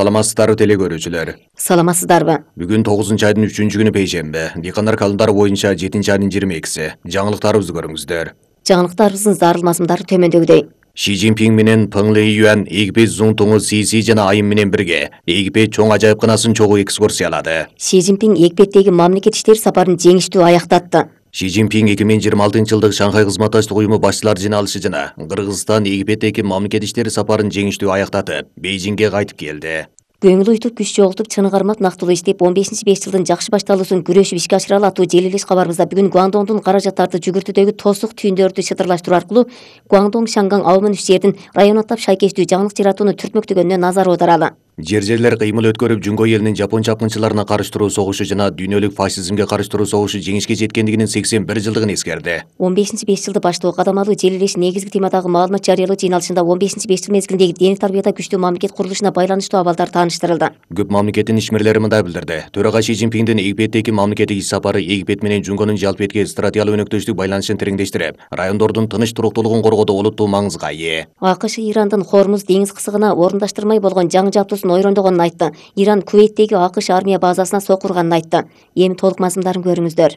Саламатсыздарбы теле көрүүчүлөр. Саламатсыздарбы? Бүгүн 9-айдын 3-күнү пейшембе. Дыйкандар календары боюнча 7-айдын 22-си. Жаңылыктарыбызды көрүңүздөр. Жаңылыктарыбыздын зарылмасындары төмөндөгүдөй. Ши Цзиньпин менен Пeng Лейюан Эгипет Цзунтуңу Сиси жана айым менен бирге Эгипет чоң ажайыпканасын чогуу экскурсиялады. Ши Цзиньпин Египеттеги мамлекет иштери сапарын жеңиштүү аяктатты. Ши Цзиньпин 2026-жылдык Шанхай кызматташтык уюму башчылар жыйналышы жана Кыргызстан Египеттеги мамлекет иштери сапарын жеңиштүү аяктатып, Бейжиңге кайтып келди. Көңүл уйтуп, күч жоготуп, чыны кармап нактылуу иштеп, 15-5 жылдын жакшы башталуусун күрөшүп ишке ашыралы аттуу желилеш кабарыбызда бүгүн Гуандоңдун каражаттарды жүгүртүүдөгү тосук түйүндөрдү шытырлаштыруу аркылуу Гуандоң, Шанган, Аомун 3 жердин район аттап шайкештүү жаңылык жаратууну түртмөктөгөнүнө назар аударалы. Жер-жерлер кыймыл өткөрүп, Жуңго элинин жапон чапкынчыларына каршы согушу жана дүйнөлүк фашизмге каршы согушу жеңишке жеткендигинин 81 жылдыгын эскерди. 15-5 жылды баштоо кадамалуу желилеш негизги темадагы маалымат жарыялоо жыйналышында 15-5 жыл мезгилиндеги дене тарбияда күчтүү мамлекет курулушуна байланыштуу абалдар тааныштырылды. Көп мамлекеттин ишмерлери мындай билдирди. Төрага Ши Цзиньпиндин Египеттеги мамлекеттик иш сапары Египет менен Жуңгонун жалпы этки стратегиялык өнөктөштүк байланышын тереңдештирип, райондордун тыныч туруктуулугун коргоодо олуттуу маңызга ээ. АКШ Ирандын Хормуз деңиз кысыгына орундаштырмай болгон жаңы жабдуусун ойрондогонун айтты. Иран Кувейттеги АКШ армия базасына сокурганын айтты. Эми толук мазмундарын көрүңүздөр.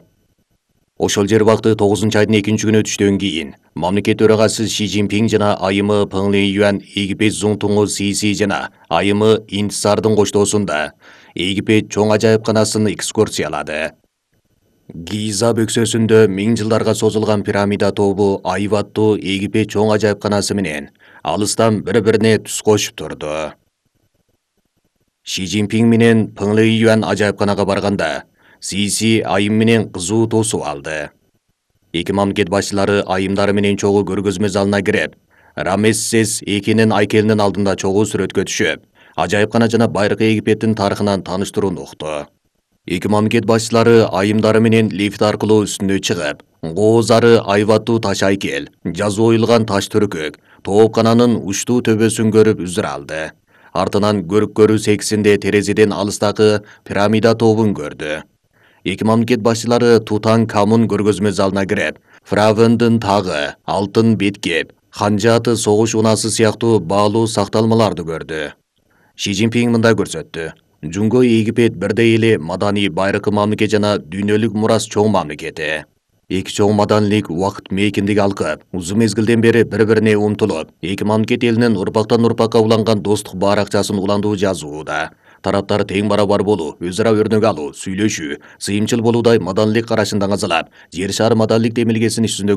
Ошол жер убакты 9-айдын 2-күнү өтүштөн кийин мамлекет төрагасы Ши Цзиньпин жана айымы Пeng Лейюан Египет Цзунтуңу Сиси жана айымы Интисардын коштоосунда Египет чоң ажайыпканасын экскурсиялады. Гиза бөксөсүндө 1000 жылдарга созулган пирамида тобу айбаттуу Египет чоң ажайыпканасы менен алыстан бири-бирине түз кошуп турду. Ши Цзиньпин менен Пeng Лейюан ажайыпканага барганда Сиси айым менен кызуу тосуп алды. Эки мамлекет башчылары айымдары менен чогуу көргөзмө залына кирип, Рамессес экинин айкелинин алдында чогуу сүрөткө түшүп, ажайыпкана жана байыркы Египеттин тарыхынан тааныштырууну укту. Эки мамлекет башчылары айымдары менен лифт аркылуу үстүнө чыгып, гоозары айбаттуу таш айкел, жазуу оюлган таш түркөк, тоопкананын учтуу төбөсүн көрүп үзүр алды. Артынан көрүк-көрүү сексинде терезеден алыстагы пирамида тобун көрдү. Эки мамлекет башчылары Тутанкамун көргөзмө залына кирип, Фравендин тагы, алтын беткеп, ханжааты согуш унасы сыяктуу баалуу сакталмаларды көрдү. Ши Цзиньпин мындай көрсөттү. Жуңго Египет бирдей эле маданий байыркы мамлекет жана дүйнөлүк мурас чоң мамлекети. Эки чоң маданилик убакыт мейкиндиги алкып, узун мезгилден бери бири-бирине умтулуп, эки мамлекет элинин урпактан урпакка уланган достук баракчасын уландуу жазууда. Тараптар тең барабар болуу, өз ара өрнөк алуу, сүйлөшүү, сыйымчыл болуудай маданилик карашын даңазалап, жер шары маданилик демилгесин иш жүзүндө